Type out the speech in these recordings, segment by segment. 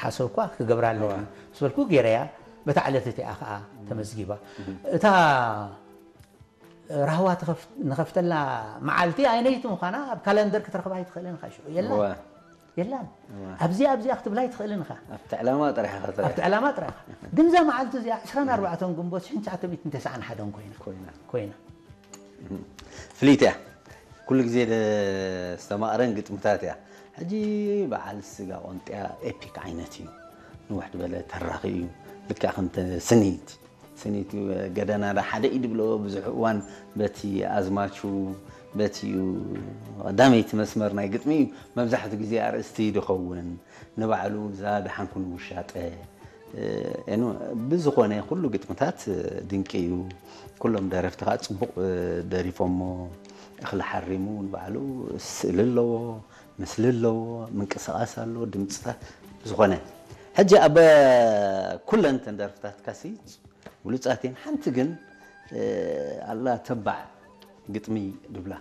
ሓሰብኳ ክገብራ ኣለኒ ምስ በልኩ ገይረያ። በታ ዕለት እቲኣ ከዓ ተመዝጊባ። እታ ራህዋ ትኸፍ- ንኸፍተላ መዓልቲ ኣይነይቲ ምዃና ኣብ ካለንደር ክትረኽባ ኣይትኽእልን ኢኻ። ሽዑ የላን እወ። የላን ኣብዚኣ ኣብዚኣ ክትብላ ኣይትኽእልን ኢኻ። ኣብቲ ዕላማ ጥራሕ ኢኻ ትርኢ። ኣብቲ ዕላማ ጥራሕ ኢኻ። ግን እዛ መዓልቲ እዚኣ ዕስራን ኣርባዕተን ግንቦት ሽሕን ትሽዓተ ሚእትን ተስዓን ሓደን ኮይና ኮይና። ኮይና። ፍልይቲ እያ። ኩሉ ግዜ ዘስተማቕረን ግጥምታት እያ። ሕጂ በዓል ስጋ ቆንጥያ ኤፒክ ዓይነት እዩ። ንውሕ ዝበለ ተራኺ እዩ። ልክዕ ከምተ ስኒት ስኒት ገደና ዳ ሓደ ኢድ ብሎ ብዙሕ እዋን በቲ ኣዝማቹ በቲ ቀዳመይቲ መስመር ናይ ግጥሚ እዩ። መብዛሕትኡ ግዜ ኣርእስቲ ድኸውን ንባዕሉ እዛ ደሓንኩን ውሻጠ ኤኑ ብዝኾነ ኩሉ ግጥምታት ድንቂ እዩ። ኩሎም ደረፍቲ ከዓ ፅቡቅ ደሪፎሞ። እኽሊ ሓሪሙ ንባዕሉ ስእሊ ኣለዎ፣ ምስሊ ኣለዎ፣ ምንቅስቃስ ኣለዎ፣ ድምፅታት ዝኾነ። ሕጂ ኣብ ኩለን ተን ደርፍታትካሲ ብሉፃት እየን። ሓንቲ ግን ኣላ ተባዕ ግጥሚ ድብላ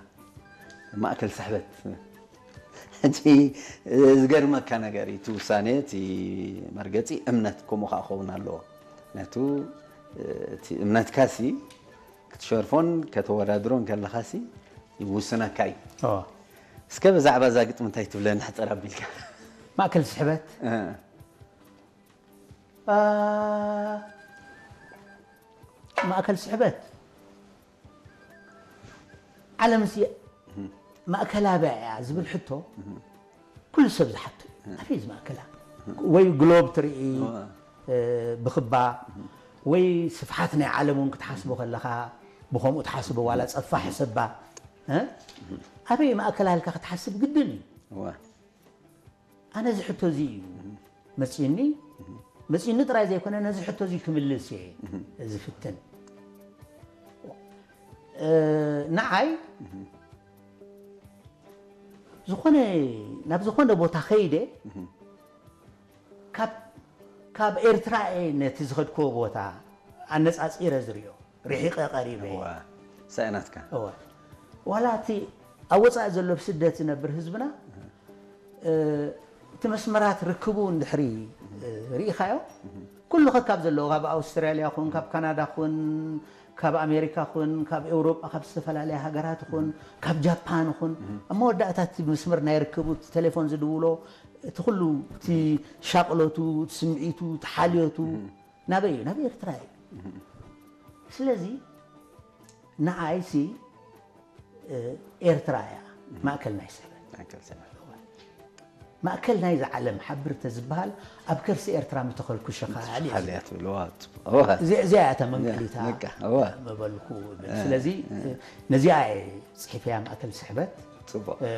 ማእከል ስሕበት። ሕጂ ዝገርመካ ነገር እዩ፣ እቲ ውሳነ፣ እቲ መርገፂ እምነት ከምኡ ከዓ ክኸውን ኣለዎ። ምክንያቱ እቲ እምነትካሲ ክትሸርፎን ከተወዳድሮን ከለኻሲ ይውስነካ እዩ። ኦ፣ እስከ ብዛዕባ እዛ ግጥሚ እንታይ ትብለኒ ሕፅር ኣቢልካ? ማእከል ስሕበት እ፣ አ፣ ማእከል ስሕበት ዓለምሲ ማእከላ ኣበይ እያ ዝብል ሕቶ ኩሉ ሰብ ዝሓቶ እዩ። ኣበይ እዚ ማእከላ? ወይ ግሎብ ትርኢ፣ እ፣ ብኽባ ወይ ስፍሓት ናይ ዓለም እውን ክትሓስቦ ከለኻ ብኸምኡ ትሓስቦ ዋላ ጸፋሕ ሰባ እ? ኣበይ ማእከላ ኢልካ ክትሓስብ ግድን እዩ። እወ። ኣነ እዚ ሕቶ እዚ እዩ መፂኒ መፂኒ ጥራይ ዘይኮነ ነዚ ሕቶ እዚ ክምልስ እየ ዝፍትን። እ፣ ንዓይ ዝኾነ ናብ ዝኾነ ቦታ ከይደ ካብ ካብ ኤርትራ እየ ነቲ ዝኸድክዎ ቦታ ኣነፃፂረ ዝሪኦ። ርሒቐ ቀሪበ እየ። እዋ፣ ሳእናትካ። እወ። ዋላ እቲ ኣብ ወፃኢ ዘሎ ብስደት ዝነብር ህዝብና እ፣ እቲ መስመራት ርክቡ እንድሕሪ እ፣ ርኢኻዮ ኩሉ ከካብ ዘለዎ ካብ ኣውስትራልያ ኹን ካብ ካናዳ ኹን ካብ ኣሜሪካ ኹን ካብ ኤውሮጳ ካብ ዝተፈላለያ ሃገራት ኹን ካብ ጃፓን ኹን ኣብ መወዳእታ እቲ መስመር ናይ ርክቡ እቲ ቴሌፎን ዝድውሎ እቲ ኩሉ እቲ ሻቕሎቱ እቲ ስምዒቱ እቲ ሓልዮቱ ናበይ እዩ ናብ ኤርትራ እዩ። ስለዚ ንዓይሲ እ፣ ኤርትራ እያ ማእከል ናይ ስሕበት። ማእከል ስሕበት። ማእከል ናይዚ ዓለም ሓብር ተዝበሃል ኣብ ከርሲ ኤርትራ ምተኸልኩ ሸኻል እየ ዝብል። ሓልያ ትብልዋ። እወ። እዚ- እዚኣ እያ እታ መንቀሊታ ንቃ፣ እወ። ምበልኩ እብል። ስለዚ እ፣ ነዚኣ እየ ፅሒፈያ ማእከል ስሕበት። ፅቡቅ። እ፣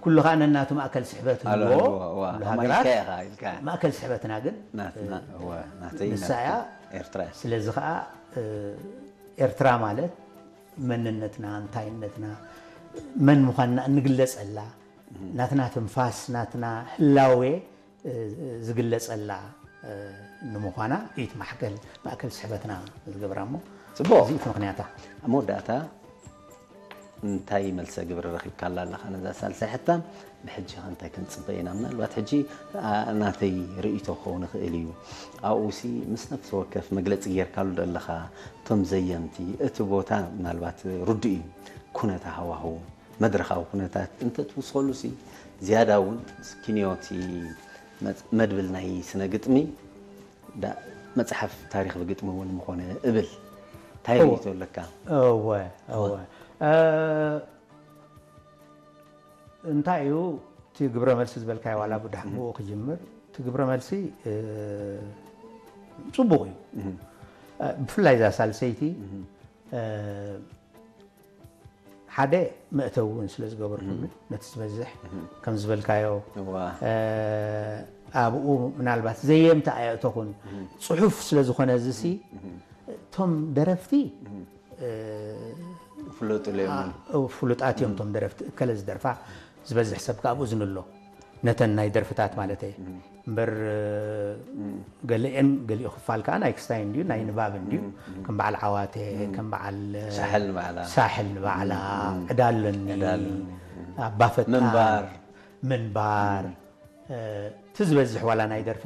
ኩሉ ከዓ ነናቱ ማእከል ስሕበት ኣሎ ህልዎ ህልዎ፣ እወ። ኩሉ ኣማይ ሃገራት ከያ ኢኻ ኢልካ። ማእከል ስሕበትና ግን ናትና፣ እ፣ እወ፣ ናተይ ንሳ ናትካ። እያ። ኤርትራ እያ። ስለዚ ከዓ እ፣ ኤርትራ ማለት መንነትና እንታይነትና መን ምዃንና እንግለፀላ ናትና ትንፋስ ናትና ህላዌ እ፣ ዝግለፀላ እ፣ ንምዃና እዩ እቲ ማሕከል ማእከል ስሕበትና ዝገብራ እሞ ፅቡቅ። እዚ እቲ ምክንያታ ኣብ መወዳእታ እንታይ መልሰ ግብሪ ረኺብካላ ኣለኻ ነዛ ሳልሳይ ሕታም? ብሕጂ ኸ እንታይ ክንፅበ ኢና? ምናልባት ሕጂ ኣ፣ ናተይ ርእይቶ ክኸውን ይኽእል እዩ። ኣብኡሲ ምስ ነፍሲ ወከፍ መግለፂ ጌርካሉ ዶ ኣለኻ? እቶም ዘየምቲ እቲ ቦታ ምናልባት ርዱእ እዩ። ኩነታ ሃዋህው መድረኻዊ ኩነታት እንተትውስኸሉሲ ዝያዳ እውን ክንዮቲ መፅ- መድብል ናይ ስነ ግጥሚ ዳ- መፅሓፍ ታሪኽ ብግጥሚ እውን ምኾነ እብል። እንታይ እወ። ርእይቶ ኣለካ? እወ እወ እ፣ እንታይ እዩ እቲ ግብረ መልሲ ዝበልካዮ ዋላ ብዳሕ ብኡ ክጅምር እቲ ግብረ መልሲ እ፣ ፅቡቕ እዩ። እ፣ ብፍላይ እዛ ሳልሰይቲ እ፣ ሓደ መእተዊ እውን ስለ ዝገበርኩሉ ነቲ ዝበዝሕ ከም ዝበልካዮ እዋ። እ፣ ኣብኡ ምናልባት ዘየምቲ ኣየእተኹን ፅሑፍ ስለ ዝኾነ እዚሲ እቶም ደረፍቲ እ፣ ፍለጡ ለዮምን እ፣ ፍሉጣት እዮም እቶም ደረፍቲ እከለ ዝደርፋ ዝበዝሕ ሰብ ከ ኣብኡ ዝንሎ ነተን ናይ ደርፍታት ማለት እየ እምበር እ፣ ገሊአን ገሊኡ ክፋል ከዓ ናይ ክስታይ እንድዩ ናይ ንባብ እንድዩ ከም በዓል ዓዋተ ከም በዓል እ፣ ሳሕል ንባዕላ። ሳሕል ንባዕላ ዕዳ ኣለኒ ዕዳ ኣለኒ። ኣባፈጣን ምንባር። ምንባር እ፣ እቲ ዝበዝሕ ዋላ ናይ ደርፊ